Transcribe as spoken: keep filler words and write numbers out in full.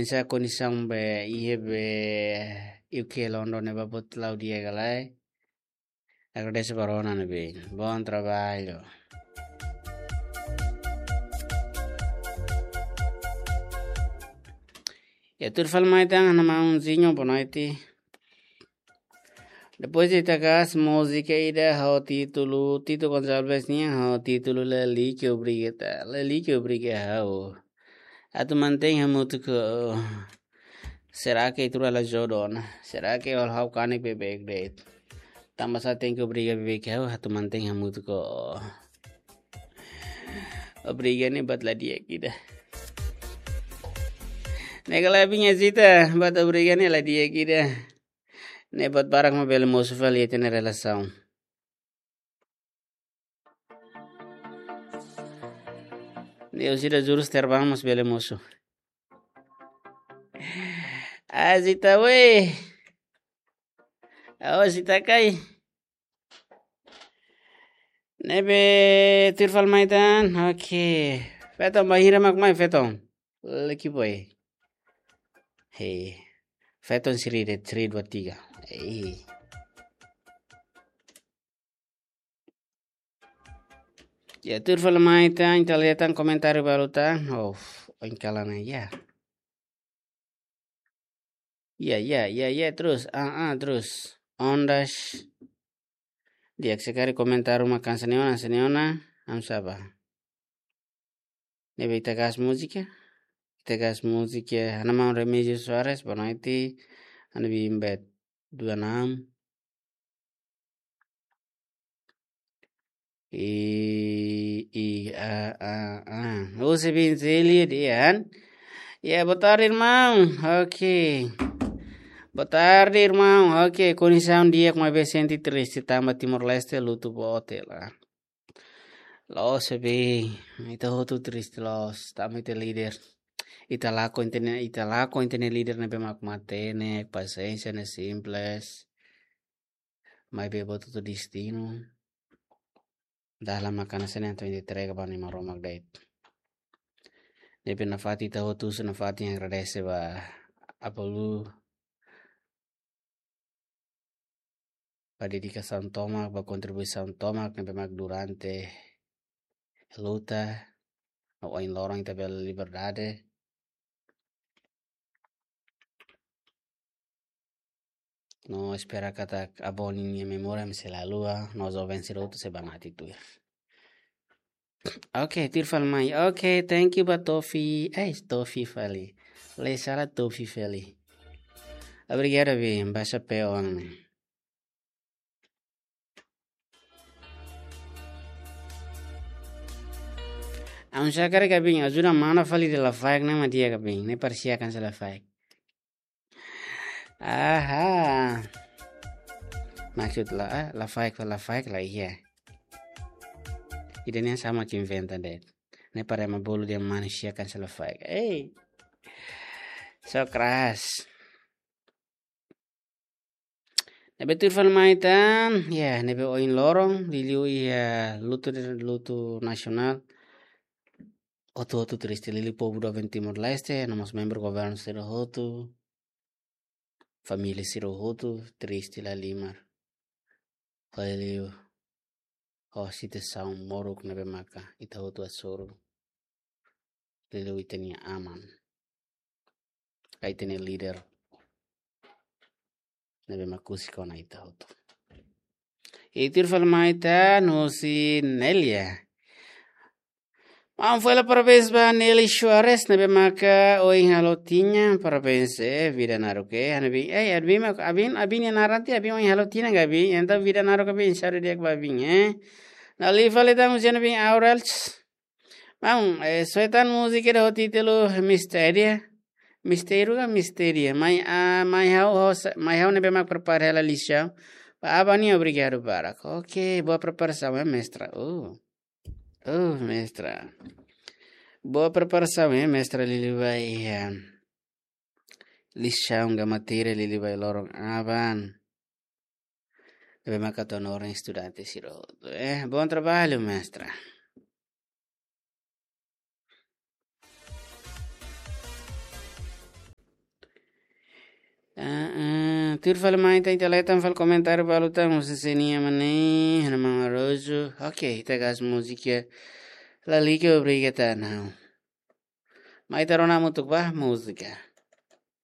Sa kondisaun be iha be U K London ne'ebá boot la'o di'ak ka lae. Agradese ba rona ne'ebé. Bom trabalho. Ya, tuir fali mai tan, ha'u-nia maun Zinho, boa noite. Depois de takas múzika ida ho títulu, Tito Gonçalves nian ho títulu Lalike Obriga, Lalike Obriga ha'u. Atu mantein hamutuk ho. Será que itu adalah jodoh, nah? Será que ha'u kanek beibeik de'it? Tanba sá tenke obriga beibeik ha'u atu mantein hamutuk ho. Obriga ne'e buat la di'ak ida. Ne'e kala binya cita, buat obriga ne'e la di'ak ida. Ne'e buat barak mak bele mosu fali iha ita-nia relasaun. Ne'e orsida jurus terbang mós bele mosu. Ah, cita weh. Oh, cita kai. Ne'ebé tuir fali mai tan. Oke. Feton, bainhira mak mai, feton? Leki boy. Hei. Feton seri de'it, seri dua tiga. Hei. Ya, tuir fali mai tan, ita lee tan komentáriu balu tan. Oh, oin kalan ya. Ya, ya, ya, ya, terus. Ah, ah, terus. Ondas. Di'ak sekali komentáriu mak hanesan ne'e ona, hanesan ne'e ona. Am saba. Ne'ebé ita gas múzika. Ita gas múzika. Ha'u-nia maun Remigio Soares, boa noite. Ha'u-nia biin bet dua enam. I, i, a, a, a. Husi biin Cília dehan. Ya, boa tarde, irmão. Oke. Boa tarde, irmão. Oke, kondisaun di'ak maibé sente triste tanba Timor-Leste lutu boot hela. Loos, biin. Ita hotu triste loos. Tanba ita-nia líder. Ita lakon ita-nia, ita lakon ita-nia líder ne'ebé mak matenek, pasiénsia ne'e simples. Maibé buat hotu destinu. Dalan mak hanesan ne'e atu entrega ba Nai Maromak de'it. Ne'ebé nafatin ita hotu husu nafatin agradese ba Apolu. Ba dedikasaun tomak, ba kontribuisaun tomak ne'ebé mak durante luta, no ohin loron ita bele liberdade. No espera katak Apolu ninia memória sei la haluha, no joven sira hotu sei banati tuir. Oke, tuir fali mai. Oke, thank you ba Tofi. Eh, Tofi fali. Lei sala Tofi fali. Obrigadu, biin. Basa pe oan. Aun sa kare ka biin, ajuda mana fali de la faik na madia ka biin. Ne'e parsiakan sa la faik. Aha. Maksud la, ah, la faik, la faik la iya. Ida-ne'e sama ke inventa de'it. Ne'e para ema bolu dehan manusia kan sala faik. Ei. So keras. Ne'ebé tuir fali mai tan, ya, ne'ebé ohin loron, liuliu iha lutu, lutu nasionál. Hotu-hotu triste, liuliu povu doben Timor-Leste, no mós membru governu sira hotu. Família sira hotu triste lahalimar. Liuliu ho situasaun moruk ne'ebé maka ita hotu hasoru. Liuliu ita-nia aman. Ka ita-nia líder. Ne'ebé mak husik ona ita hotu. I tuir fali mai tan husi Nelia. Maun fó hela parabéns ba Nelly Soares, ne'ebé maka ohin halo tinan, parabéns, eh, vida naruk, eh, ha'u-nia biin, eh, ha'u-nia biin mak, ha'u-nia biin, ha'u-nia biin nia naran tiha, ha'u-nia biin ohin halo tinan, ha'u-nia biin, entaun vida naruk, ha'u-nia biin, saúde di'ak ba ha'u-nia biin, eh. Ne'e liu fali tan husi ha'u-nia biin Aurels. Maun, eh, soe tan múzika ida ho títulu Mistéria. Mistério ka Mistéria. Mai, ah, mai ha'u, ha'u sa-, mai ha'u ne'ebé mak prepara hela lisaun. Ba aban nian obrigadu barak. Oke, boa preparasaun, eh, mestra. Oh. Oh, mestra. Boa preparasaun, eh, mestra, liuliu ba iha lisaun ka matéria liuliu ba iha loron aban. Ne'ebé maka atu hanorin estudante sira hotu, eh. Bom trabalho, mestra. Tuir fali mai ita, ita leten fali komentáriu balu tan, husi senia mane, hana mama rozu. Oke, ita gas múzika. Lalika obriga ta nau. Mai ita rona mutuk ba múzika.